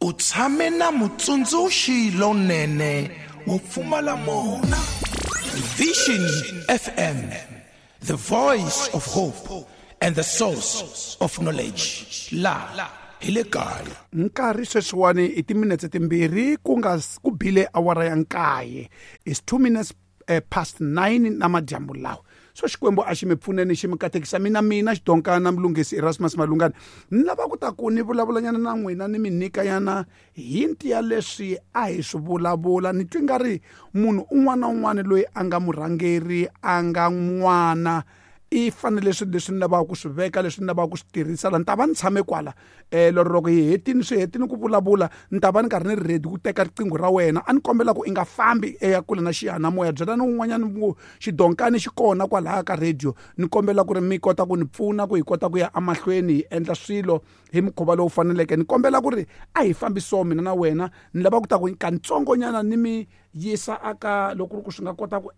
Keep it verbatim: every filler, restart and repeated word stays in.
U tshame na mutsundzuxi lonene wo pfumala mona. Vision F M, the voice of hope and the source of knowledge. La hi le kaya. Nkarhi sweswiwani i timinetse timbirhi ku nga ku bile awara ya nkaye, is two minutes eh, past nine namadyambu lawa. So Xikwembu a xi mi pfuneni, xi mi katekisa. Mina mina Xidonkana Mlunghisi Erasmus Malungana, ni lava ku ta ku ni vulavulanyana na n'wina, ni mi nyikanyana hinti ya leswi a hi swi vulavula. Ni twi nga ri munhu un'wana na un'wana loyi a nga murhangeri, a nga n'wana, i fanele swilo leswi ni lavaka ku swi veka, leswi ni lavaka ku swi tirhisa la. Ni ta va ni tshame kwala um lero loko hi hetini swi hetini ku vulavula, ni ta va ni karhi ni ri ready ku teka riqingho ra wena. A ni kombela ku i nga fambi eya kule na xiyanimoya. Byelani un'wanyana ku xidonkani xi kona kwalaya ka radio. Ni kombela ku ri mi kota ku ni pfuna ku hi kota ku ya emahlweni hi endla swilo hi mukhuva lowu faneleke. Ni kombela ku ri a hi fambi so mina na wena. Ni lava ku ta ku kantsongonyana ni mi yisa aka loko ku ri ku swi nga kota ku